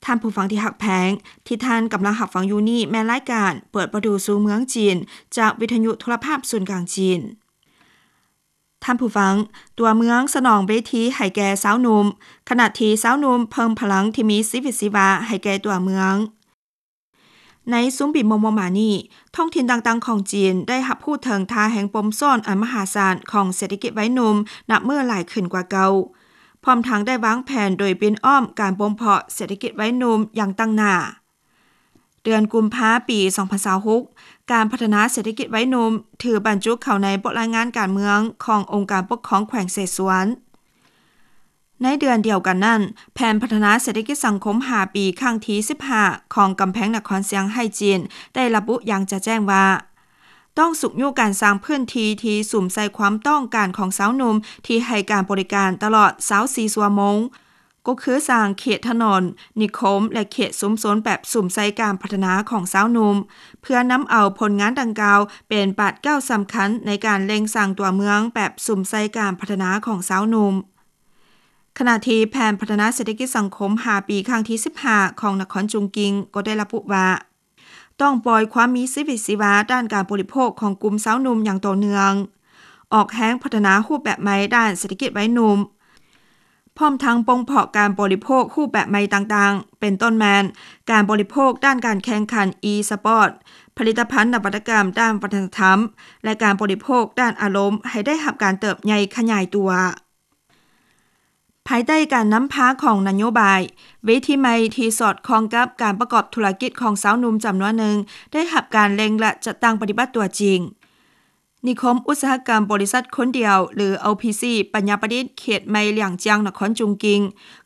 ທ່ານຜູ້ຟັງທີ່ຮັກແພງ, ທີ່ທ່ານກຳລັງຮັບຟັງຢູ່ນີ້ແມ່ນລາຍການເປີດປະຕູສູ່ເມືອງຈີນ ຈາກວິທະຍຸໂທລະພາບສູນກາງຈີນ. ທ່ານຜູ້ຟັງ, ຕົວເມືອງສະໜອງເວທີໃຫ້ແກ່ຊາວໜຸ່ມ, ຂະນະທີ່ຊາວໜຸ່ມເພີ່ມພະລັງທີ່ມີຊີວິດຊີວາໃຫ້ແກ່ຕົວເມືອງ. ໃນຊຸມປີມໍ່ໆມານີ້, ທ້ອງຖິ່ນຕ່າງໆຂອງຈີນໄດ້ຮັບຮູ້ເຖິງທ່າແຮງປົມຊ້ອນອັນມະຫາສານຂອງເສດຖະກິດໄວໜຸ່ມນັບມື້ຫຼາຍຂຶ້ນກວ່າເກົ່າ, ພ້ອມທັງໄດ້ວາງແຜນໂດຍປິ່ນອ້ອມການບົ່ມເພາະເສດຖະກິດໄວໜຸ່ມຢ່າງຕັ້ງໜ້າ. ເດືອນກຸມພາ ປີສອງພັນຊາວຫົກ, ການພັດທະນາເສດຖະກິດໄວໜຸ່ມຖືບັນຈຸເຂົ້າໃນບົດລາຍງານການເມືອງຂອງອົງການປົກຄອງແຂວງເສຊວນ. ໃນເດືອນດຽວກັນນັ້ນ, ແຜນພັດທະນາເສດຖະກິດສັງຄົມຫ້າປີ ຄັ້ງທີສິບຫ້າ ຂອງກຳແພງນະຄອນຊຽງໄຮ້ຈີນ ໄດ້ລະບຸຢ່າງຈະແຈ້ງວ່າ ຕ້ອງຊຸກຍູ້ການສ້າງພື້ນທີ່ທີ່ສຸມໃສ່ຄວາມຕ້ອງການຂອງຊາວໜຸ່ມທີ່ໃຫ້ການບໍລິການຕະຫຼອດຊາວສີ່ຊົ່ວໂມງ, ກໍຄືສ້າງເຂດຖະໜົນ, ນິຄົມ ແລະ ເຂດຊຸມຊົນແບບສຸມໃສ່ການພັດທະນາຂອງຊາວໜຸ່ມ, ເພື່ອນຳເອົາຜົນງານດັ່ງກ່າວເປັນບາດກ້າວສຳຄັນໃນການເລັ່ງສ້າງຕົວເມືອງແບບສຸມໃສ່ການພັດທະນາຂອງຊາວໜຸ່ມ. ຂະນະທີ່ແຜນພັດທະນາເສດຖະກິດສັງຄົມຫ້າປີ ຄັ້ງທີສິບຫ້າ ຂອງນະຄອນຈຸງກິງ ກໍໄດ້ລະບຸວ່າ ຕ້ອງປ່ອຍຄວາມມີຊີວິດຊີວາດ້ານການບໍລິໂພກຂອງກຸ່ມຊາວໜຸ່ມຢ່າງຕໍ່ເນື່ອງ, ອອກແຮງພັດທະນາຮູບແບບໃໝ່ດ້ານເສດຖະກິດໄວໜຸ່ມ, ພ້ອມທັງບົ່ມເພາະການບໍລິໂພກຮູບແບບໃໝ່ຕ່າງໆ, ເປັນຕົ້ນແມ່ນການບໍລິໂພກດ້ານການແຂ່ງຂັນ e-sport, ຜະລິດຕະພັນນະວັດຕະກຳດ້ານວັດທະນະທຳ ແລະ ການບໍລິໂພກດ້ານອາລົມໃຫ້ໄດ້ຮັບການເຕີບໃຫຍ່ຂະຫຍາຍຕົວ. ພາຍໃຕ້ການນຳພາຂອງນະໂຍບາຍ, ເວທີໃໝ່ທີ່ສອດຄ່ອງກັບການປະກອບທຸລະກິດຂອງຊາວໜຸ່ມຈຳນວນໜຶ່ງ ໄດ້ຮັບການເລັ່ງ ແລະ ຈັດຕັ້ງປະຕິບັດຕົວຈິງ. ນິຄົມອຸດສາຫະກຳບໍລິສັດຄົນດຽວ ຫຼື ໂອ ພີ ຊີ ປັນຍາປະດິດ ເຂດໃໝ່ຫຼຽງຈຽງ ນະຄອນຈຸງກິງ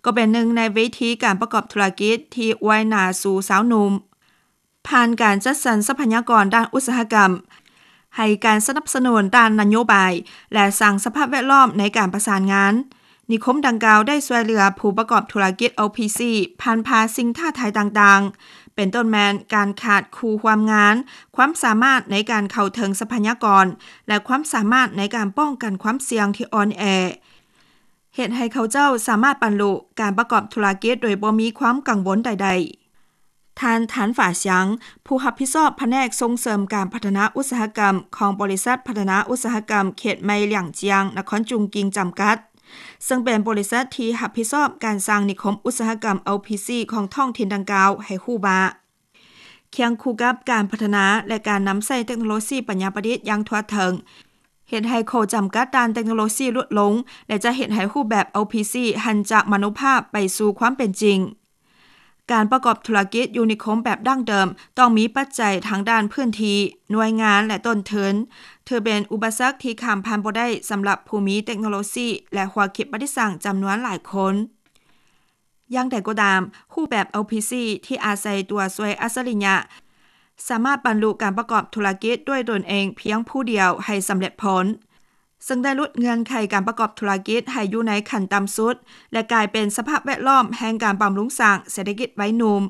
ກໍເປັນໜຶ່ງໃນເວທີການປະກອບທຸລະກິດທີ່ອວຍໜ້າສູ່ຊາວໜຸ່ມ. ຜ່ານການຈັດສັນຊັບພະຍາກອນດ້ານອຸດສາຫະກຳ, ໃຫ້ການສະໜັບສະໜູນດ້ານນະໂຍບາຍ ແລະ ສ້າງສະພາບແວດລ້ອມໃນການປະສານງານ, ນິຄົມດັ່ງກ່າວໄດ້ຊ່ວຍເຫຼືອຜູ້ປະກອບທຸລະກິດ ໂອ ພີ ຊີ ຜ່ານຜ່າສິ່ງທ້າທາຍຕ່າງໆ, ເປັນຕົ້ນແມ່ນການຂາດຄູ່ຮ່ວມງານ, ຄວາມສາມາດໃນການເຂົ້າເຖິງຊັບພະຍາກອນ ແລະ ຄວາມສາມາດໃນການປ້ອງກັນຄວາມສ່ຽງທີ່ອ່ອນແອ. ເຮັດໃຫ້ເຂົາເຈົ້າສາມາດບັນລຸການປະກອບທຸລະກິດໂດຍບໍ່ມີຄວາມກັງວົນໃດໆ. ທ່ານ ທານ ຝາຊຽງ, ຜູ້ຮັບຜິດຊອບພະແນກສົ່ງເສີມການພັດທະນາອຸດສາຫະກຳຂອງບໍລິສັດພັດທະນາອຸດສາຫະກຳເຂດໃໝ່ຫຼຽງຈຽງ ນະຄອນຈຸງກິງ ຈຳກັດ, ເຊິ່ງເປັນບໍລິສັດທີ່ຮັບຜິດຊອບການສ້າງນິຄົມອຸດສາຫະກຳ ໂອ ພີ ຊີ ຂອງທ້ອງຖິ່ນດັ່ງກ່າວ ໃຫ້ຮູ້ວ່າ ຄຽງຄູ່ກັບການພັດທະນາ ແລະ ການນຳໃຊ້ເຕັກໂນໂລຊີປັນຍາປະດິດຢ່າງທົ່ວເຖິງ ເຮັດໃຫ້ຂໍ້ຈຳກັດດ້ານເຕັກໂນໂລຊີຫຼຸດລົງ ແລະ ຈະເຮັດໃຫ້ຮູບແບບ ໂອ ພີ ຊີ ຫັນຈາກມະໂນພາບໄປສູ່ຄວາມເປັນຈິງ. ການປະກອບທຸລະກິດຢູ່ນິຄົມແບບດັ້ງເດີມ ຕ້ອງມີປັດໄຈທາງດ້ານພື້ນທີ່, ໜ່ວຍງານ ແລະ ຕົ້ນທຶນ, ຖືເປັນອຸປະສັກທີ່ຂ້າມຜ່ານບໍ່ໄດ້ສຳລັບຜູ້ມີເຕັກໂນໂລຊີ ແລະ ຫົວຄິດປະດິດສ້າງຈຳນວນຫຼາຍຄົນ. ຢ່າງໃດກໍຕາມ, ຮູບແບບ ໂອ ພີ ຊີ ທີ່ອາໄສຕົວຊ່ວຍອັດສະລິຍະ ສາມາດບັນລຸການປະກອບທຸລະກິດດ້ວຍຕົນເອງພຽງຜູ້ດຽວໃຫ້ສຳເລັດຜົນ, ເຊິ່ງໄດ້ຫຼຸດເງື່ອນໄຂການປະກອບທຸລະກິດໃຫ້ຢູ່ໃນຂັ້ນຕ່ຳສຸດ ແລະ ກາຍເປັນສະພາບແວດລ້ອມແຫ່ງການບຳລຸງສ້າງເສດຖະກິດໄວໜຸ່ມ.